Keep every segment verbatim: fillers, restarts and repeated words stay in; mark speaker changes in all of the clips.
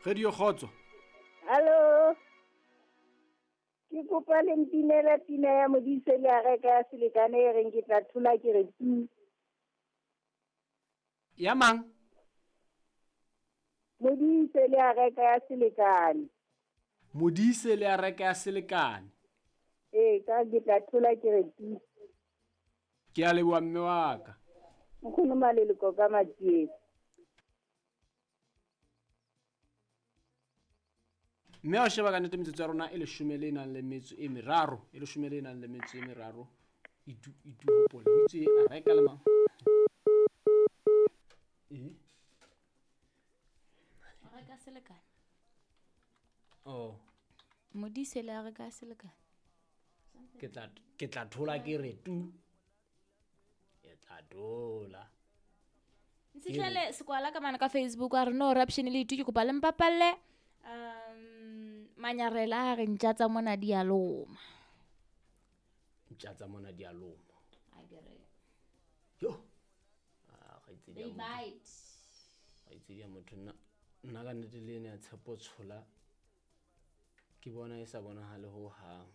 Speaker 1: Radio Kgotso.
Speaker 2: Hallo. Ke kopa le mpinela pina ya Modise le a reka ya selekane e reng ke tla thola ke re tu.
Speaker 1: Ya mang?
Speaker 2: Modise le a reka ya selekane.
Speaker 1: Modise le a reka ya selekane.
Speaker 2: Ee, ka ke tla thola ke re tu.
Speaker 1: Ke a leboha mme wa ka.
Speaker 2: Nkgono Maleloko ka Matsieng.
Speaker 1: Mme wa sheba ka nnete metsotso ya rona e leshome le nang le metso e meraro, e leshome le nang le metso e meraro. Itu itu hopole o itse a reka le mang? Eh?
Speaker 3: A reka selekane.
Speaker 1: Oh.
Speaker 3: Modise le a reka selekane.
Speaker 1: Ke tla ke tla thola ke re tu. Ke tla thola.
Speaker 3: Ntsihlele sekwala ka mana ka Facebook a re no raption le itu ke kopa le mpapalle. Um manyarela a re ntja tsa mona di a loma.
Speaker 1: Ntja tsa mona di a loma.
Speaker 3: A ke re.
Speaker 1: Yo. Ah, ga itse di a
Speaker 3: They
Speaker 1: motho.
Speaker 3: bite.
Speaker 1: Ga itse di a motho nna nna ka nnete le ene ya Tshepo Tshola ke bona e sa bonahale ho hang.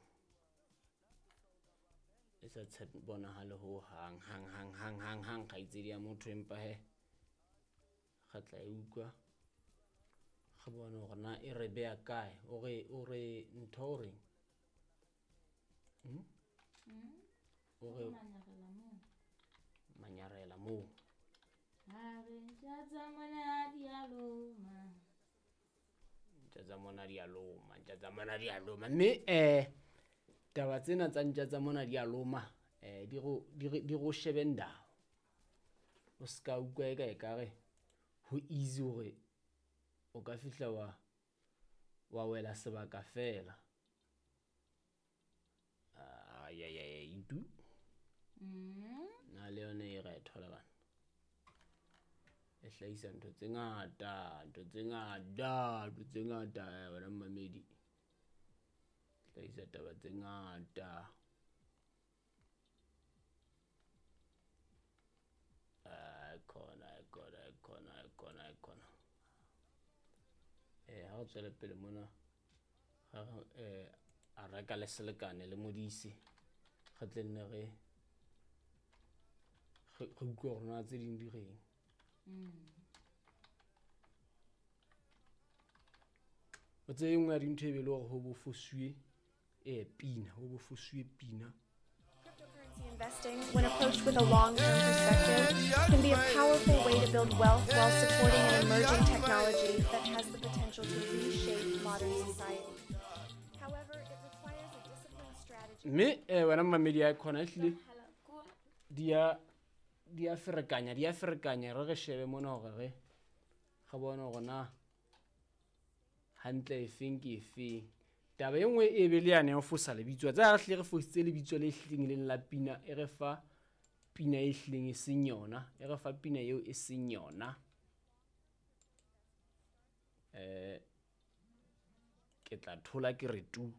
Speaker 1: E sa tshepo bonahale ho hang hang hang hang hang hang ga itse di a motho empa he ga tla e utlwa. Re bone hore na e re beha kae, o re o re ntho o reng? Hmm? O re
Speaker 3: Manyarela moo.
Speaker 1: Manyarela moo.
Speaker 3: A re ntja tsa mona di a loma.
Speaker 1: Ntja tsa mona di a loma, ntja tsa mona di a loma. Mme eh taba tsena tsa ntja tsa mona di a loma, eh di go di re di go shebe ndao. O ska utlwa e ka e ka re ho easy hore o ka fihla wa wa wela sebaka fela. Ah ya ya ya itu.
Speaker 3: Mm.
Speaker 1: Na le yone e re thola bana. E hlahisa ntho tse ngata, ntho tse ngata, ntho tse ngata eh, wena mmamedi. Hlahisa taba tse ngata. Ah, khona, khona, khona, khona, khona. Eh, ha re tswele pele mona, ha re, eh, a reka le selekane le Modise. Re tle nne re, re, re utlwe hore na tse ding di reng.
Speaker 3: Mm.
Speaker 1: O tseye nngwe ya dintho e be le hore ho bo fosuwe, eh, pina, ho bo fosuwe pina.
Speaker 4: Cryptocurrency investing, when approached with a long-term perspective, can be a powerful way to build wealth while supporting an emerging technology that has the potential to reshape modern society. However, it requires a disciplined strategy.
Speaker 1: Mme, eh, wena mmamedi ya khona ehlile di a, di a ferekanya, di a ferekanya. Re re shebe mona hore re, re bone hore na hantle efeng ke efeng. Taba e nngwe e be le yane ya ho fosa lebitso. Tsa re hlile re fositse lebitso le hlileng leng la pina, e re fa pina e hlileng e seng yona, e re fa pina eo e seng yona. Eh, ke tla thola ke re tu.